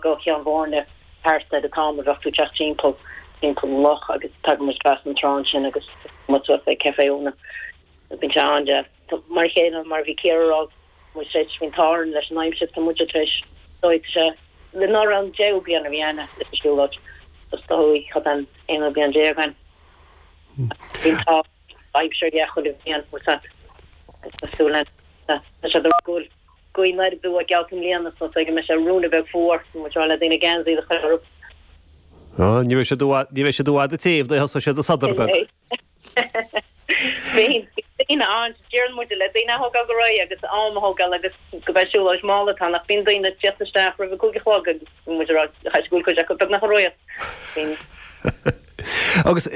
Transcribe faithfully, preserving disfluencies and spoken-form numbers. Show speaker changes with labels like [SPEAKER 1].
[SPEAKER 1] Go Ceann Bhairne thart ar an t-am a bheadh tú teacht timpeall timpeall an loch agus tagann muid trasna an trá ansin agus muid suas ag Café Úna. Bíonn sé an-deas. Mar a chéile mar a bhí Ciara a rá muid tar éis bhí an t-ádh orainn leis an aimsir tá muid tar éis dóigh sé le ná raibh an deichiú bliain a bhí ann leis an siúlóid is dóigh cad an aonú bliain déag ann. Bíonn an t-ádh aimsir dhe chuile bhliain bhfuil a fhios agat cosúil le tá sé do go bhfuil gaoth anoir aduaidh geallta i mbliana so go mbeidh sé ruainne beag fuar muid rá le daoine geansaí a chur orthu.
[SPEAKER 2] Ní bheidh siad ní bheidh siad i bhfad ag téamh nuair a thosóidh siad ag sodar beag.
[SPEAKER 1] Bíonn daoine ann deireann muid le daoine a thógáil go réidh agus am a thógáil agus go beidh siúlóid mall atá nach bíonn daoine ag tíocht isteach roimh a cúig a chlog agus muid ag rá chaithfidh go bhfuil cuid acu beagnach réidh.
[SPEAKER 2] Agus